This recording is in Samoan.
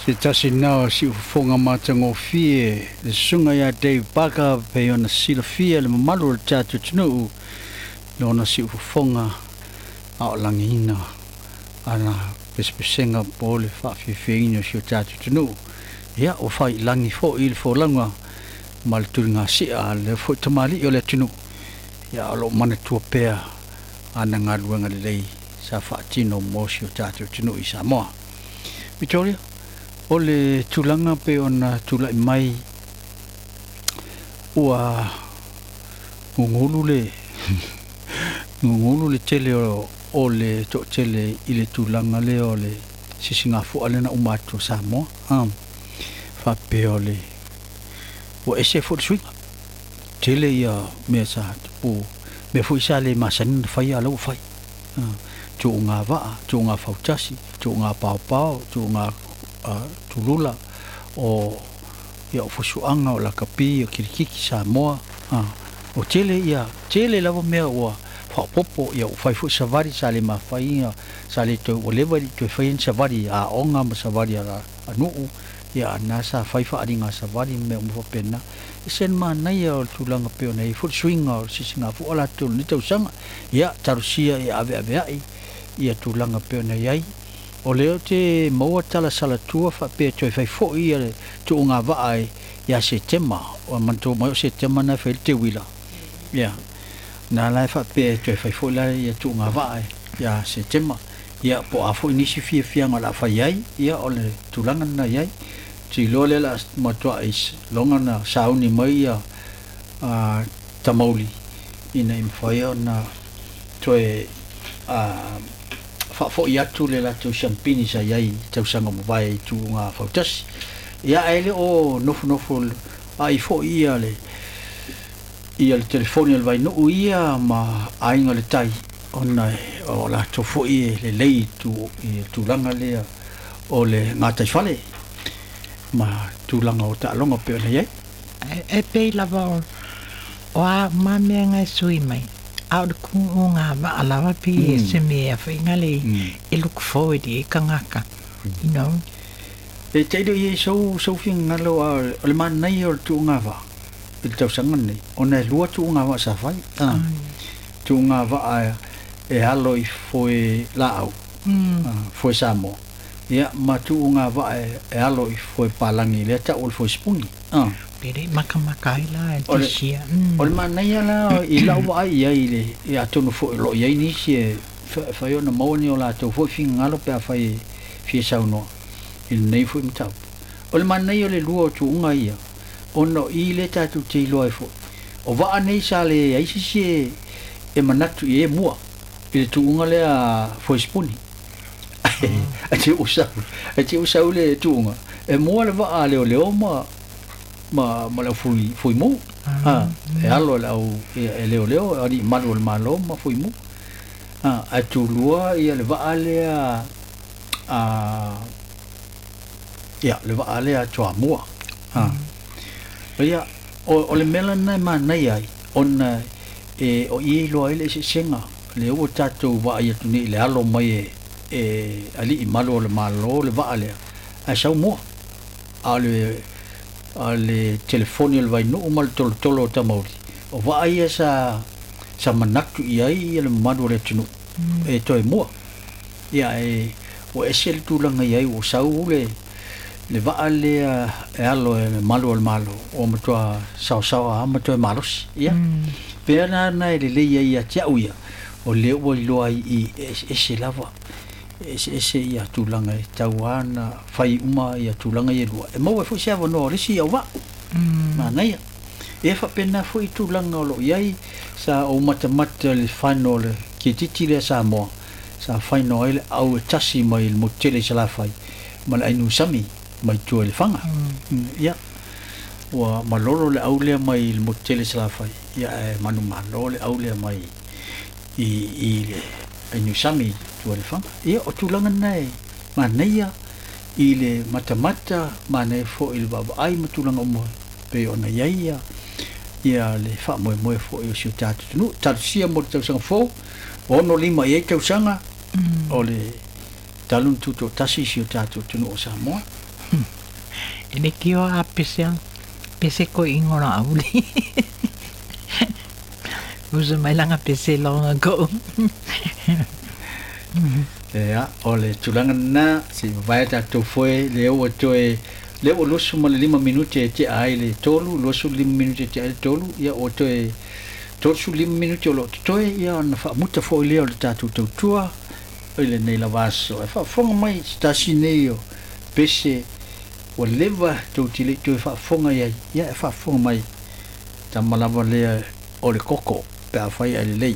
Se tasi lena o siufofoga matagofie, le susuga ia Dave Barker, pei ona silafia e le mamalu o le tatou atunuu lona siufofoga a o lagiina ana pesepesega po o le faafiafiaina o si o tatou atunuu. Ia, ua faiilagi foi le folauga ma le tuligasia a lea foi tamalii o le atunuu, ia o lo o manatua pea ana galuega lelei sa faatino mo si o tatou atunuu i Samoa. Victoria, o le tulaga pei ona tulai mai ua gugulu le gugulu le tele o le toatele i le tulaga lea o le sisigafua lea na uma atu o Samoa, faapea o le ua ese foi le suiga. Tele ia mea sa tupu, mea foi sa le masani ona faia a o la ua fai. Tuuga vaa, tuuga fautasi, tuuga paopao, tuuga tulula o ia o fusuaga, o lakapi, o kirikiti Samoa. O tele ia, tele lava mea ua faaopoopo, ia ua fai foi savali sa le mafai, sa le toe, ua leva e le i toe faia ni savali a aoga ma savali a nuu, ia a na sa fai faaaliga savali ma mea uma faapena. E ese le manaia o le tulaga pei ona i ai foi le suiga o le sisigafua latou i lenei tausaga. Ia, talosia ia aveaveai ia tulaga pei ona i ai. O lea ou te maua tala salatua faapea e toe fai foi ia le tuuga vaa ia Setema. Ua manatua mai o Setema na e fai ai le teuila. Ia, na la e faapea e toe fai foi la ia tuuga vaa ia Setema. Ia, po o a foi nisi fiafiaga o le a fai ai, ia o le tulaga lena e i ai. Ou te iloa lea o le a matuai loga ona sauni mai ia tamauli ina ia mafai ona toe faafoi atu le latou siampini sa i ai i tausaga ua mavae i tuuga fautasi. Ia, ae le o nofonofo ai foi ia le ia le telefoni a le Vainuu ia ma Aiga i le Tai, ona o latou foi e lelei i le tulaga lea o le gataifale ma tulaga o taaloga pei ona i ai. E pei lava o a uma mea nga e sui mai, a o le tuuga vaa lava pei e se mea foi nga le e look forward i kangaka. E te i ai sou finagalo a o le manaia o le tuuga vaa i le tausaga lenei, ona e lua tuuga vaa sa fai. Tuuga vaa e alo i foe laau, foe Samoa, ia ma tuuga vaa e alo i foe palagi lea tau o le foe sipuni. Pe le makamaka ai la e tisia. O le manaia la i lau vaai i ai le ia atonu foi o lo o i ai nisi e fai ona maua ni o latou foi finagalo pe afai e fia saunoa i lenei foi mataupu. O le manaia o le lua o tuuga ia, ona o i lea tatou te iloa ai foi. O vaa nei sa leai se isi e manatu i ai e mua i le tuuga lea foe sipuni. Ae te ua sau, ae te ua sau le tuuga, e mua le vaa a leoleo ma le au fuimu. E alo e le au e leoleo, alii malu o le Malo ma fuimu. Ae tulua ia le vaa lea a ia le vaa lea Toamua. Ia, o le mea lena e manaia ai, ona e o i e iloa ai le eseesega lea ua tatou vaai atu nei i le alo mai e alii malu o le Malo le vaa lea, ae sau mua. A o le telefoni o le Vainuu ma le tolotolo o Tamauli, o vaa ia sa manatu i ai le mamalu o le atunuu e toe mua. Ia e ua ese le tulaga i ai ua sau le vaa lea e alo e le malu o le Malo ua matua saosaoa lava ma toe malosi. Ia, pea lena e lelei ai ia te au ia, o lea ua iloa ai i e eseese lava, e eseese ia tulaga e tatau lava ona fai uma ia tulaga ia e lua, e maua ai foi se avanoa o le isi auvaa. Manaia. E faapena foi tulaga o lo o i ai, sa ou matamata i le final o le kirikiti lea a Samoa, sa final ai le au e tasi mai le motu tele i Salafai ma le Ainusami mai tua i Lefaga. Ia, ua malolo le au lea mai le motu tele i Salafai, ia ae manumalo le au lea mai i le Ainusami i tua i Lefaga. Ia, o tulaga na e manaia i le matamata, manaia foi i le vaavaai ma tulaga uma pei ona i ai ia le faamoemoe foi o si o tatou atunuu. Talosia mo le tausaga fou, 65 i ai tausaga o le talu ona tutoatasi si o tatou atunuu o Samoa. E leitioa a pese pese ko ingola auli. Usa mai langa pese long ago. Ia, o le tulaga lena, se i vavae tatou foe lea ua toe lea ua 25 minute e tea ai le 3, 25 minute e tea ai le 3, ia ua toe 35 minute o lo o totoe, ia ona faamuta foi lea o le tatou tautua i lenei lava aso. E faafofoga mai se tasi nei o pese ua leva tou te le i toe faafofoga i ai, ia e faafofoga mai tama lava lea o le koko pe afai ae lelei.